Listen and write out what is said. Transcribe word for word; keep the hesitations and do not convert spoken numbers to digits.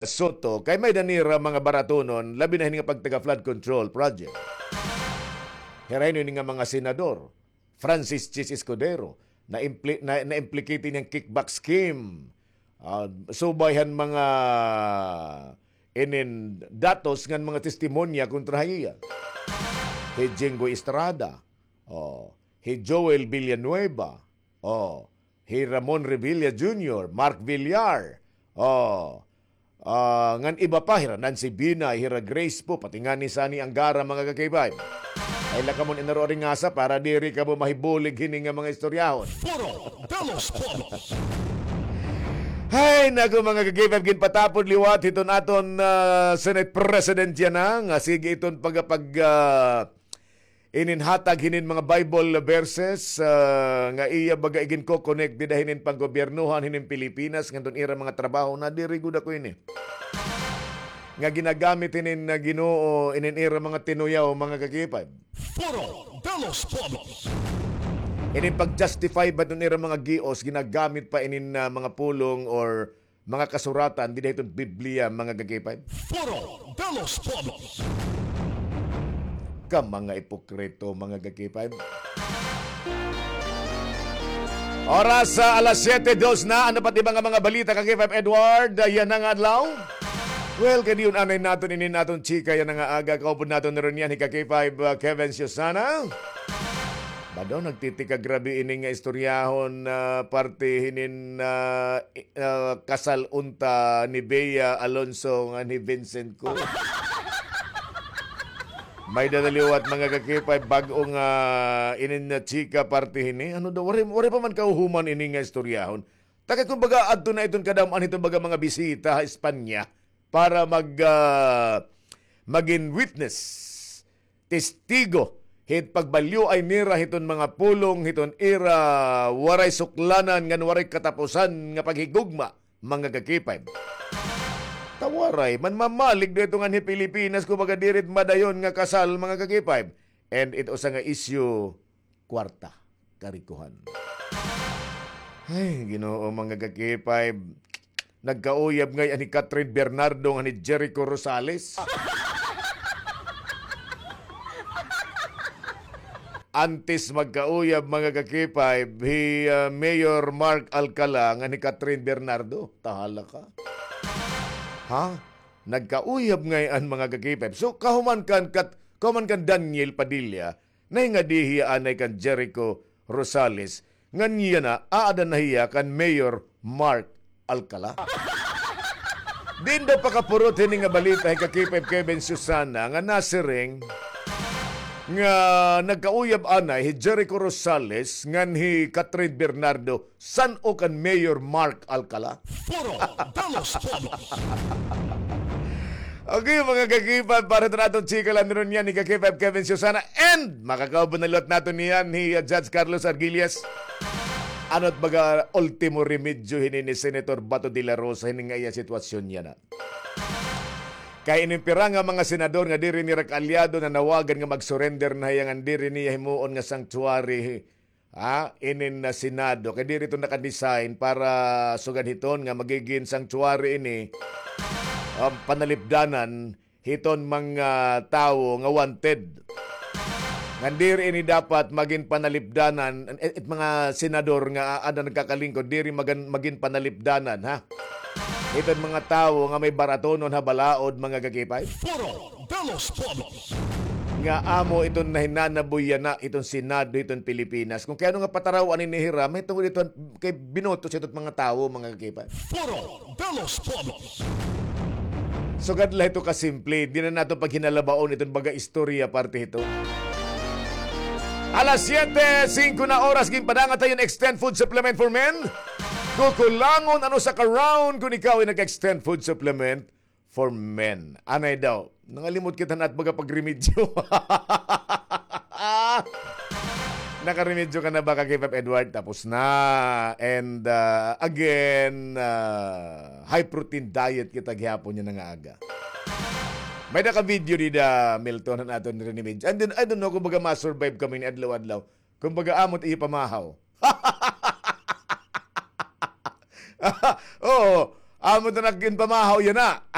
Soto, kay may-ada nira mga baratonon, labi na hini nga pagtaga flood control project. Hira ini nga mga senador, Francis Chis Escudero, na-impli-, na, na-implicate ini nga kickback scheme. Ah, subay han mga inin datos ngan mga testimonya kontra ha iya. Hi Jinggoy Estrada, oh, hi Joel Villanueva, oh, hi Ramon Revilla Junior, Mark Villar, oh, ah, ngan iba pa, hira Nancy Binay, hira Grace Poe, pati ngani Sonny Angara, mga ka-K five. Ay la kamo inaro ringasa para diri kamo mahibulig hini nga mga istoryahon. Foro de los Pueblos. Hay, naku, mga ka-K five, ginpatapod liwat hiton aton, ah, Senate President yana, nga sige iton pagapag, ah, ininhatag hinin mga Bible verses, ah, nga iya baga iginko-connect dida hinin panggobyernohan hinin Pilipinas ngadton ira mga trabaho na diri gud ako ini. Nga ginagamit hinin nga Ginoo inin ira mga tinuyaw, mga ka-K five. Foro de los Pueblos. Inin pag-justify ba iton ira mga gios, ginagamit pa inin, ah, mga pulong or mga kasuratan dida hiton Biblia, mga ka-K five. Foro de los Pueblos. Ka mga ipokrito, mga ka-K five. Oras sa alas siyete dos na. Ano pa it iba nga mga balita, ka-K five Edward, ah, yana nga adlaw? Well, kay diyon anay naton inin aton chika yana nga aga. Kaupod naton na rin yan, hi ka-K five, ah, Kevin Susana. Bado, nagtitika grabe ini nga istoryahon, ah, parte hinin, ah, i-, ah, kasal unta ni Bea Alonso ngan hi Vincent Cruz. May-ada na liwat, mga ka-K five, bag-o nga inin nga chika parte hini. Ano daw, waray, waray pa man kahuhuman ini nga istoryahon. Ta kay kumbaga, adto na iton kadam-an hiton baga mga bisita ha Espanya para mag, ah, magin witness, testigo, hit pagbalyoay nira hiton mga pulong hiton ira waray suklanan ngan waray katapusan nga paghigugma, mga ka-K five. Ta waray man mamalig dito ngan hi Pilipinas, kumbaga, diri it madayon nga kasal, mga ka-K five. And it usa nga issue, kwarta, karikohan. Ay, Ginoo, mga ka-K five. Nagkauyab ngay-an hi Catherine Bernardo ngan hi Jericho Rosales. Antes magkauyab, mga ka-K five, hi, ah, Mayor Mark Alcala ngan hi Catherine Bernardo. Tahala ka. Ha? Nagkauyab ngay-an, mga ka-K five. So, kahuman kan Kat-, kahuman kan Daniel Padilla, nahingadi hiya anay kan Jericho Rosales, ngan yana, aada na hiya kan Mayor Mark Alcala. Diin daw pakapurot hini nga balita hi ka-K five Kevin Susana nga nasiring nga nagkauyab anay hi Jericho Rosales ngan hi Catherine Bernardo san-o kan Mayor Mark Alcala. Foro de los Pueblos. Okay, mga ka-K five, para sa aton chika la niron niyan, ni ka-K five Kevin Susana, and makakaupod na liwat naton niyan, hi, uh, Judge Carlos Arguillas. Ano it baga ultimo remedyo hini ni Senator Bato de la Rosa, hini nga iya sitwasyon yana? Kay inin pira nga mga senador nga diri nira kaalyado nanawagan nga mag-surrender na hiya ngan diri niya himuon nga sanctuary, ha, inin, ah, Senado. Kay diri ito naka-design para sugad hiton nga magigin sanctuary ini, um, panalipdanan hiton mga tawo nga wanted. Ngan diri ini dapat magin panalipdanan, it, it mga senador nga aada nagkakalingkod, diri magan-, magin panalipdanan, ha? Hiton mga tawo nga may baratonon ha balaod, mga ka-K five. Foro de los Pueblos. Nga amo iton nahinanaboy yana iton Senado hiton Pilipinas. Kung kay ano nga pataraw-an ini hira, mahitungod iton kay binoto sa iton mga tawo, mga ka-K five. Foro de los Pueblos. Sugad la hito kasimple, di na naton paghinalabaon iton baga istorya parte hito. Alas siyete singko na oras, ginpadangat hiton extend food supplement for men. Kukulangon an usa ka round kon ikaw ay nag-extend food supplement for men. Anay daw. Nangalimot kita na it baga pagremedyo. Nakaremedyo ka na ba, ka-K five Edward? Tapos na. And, uh, again, uh, high protein diet kita gihapon yana nga aga. May-ada ka video dida, Milton, han aton remedyo. And then, I don't know kung baga ma-survive kami ni adlaw-adlaw. Kumbaga, amo it iyo pamahaw. Oo. Amo ta nagginpamahaw yana.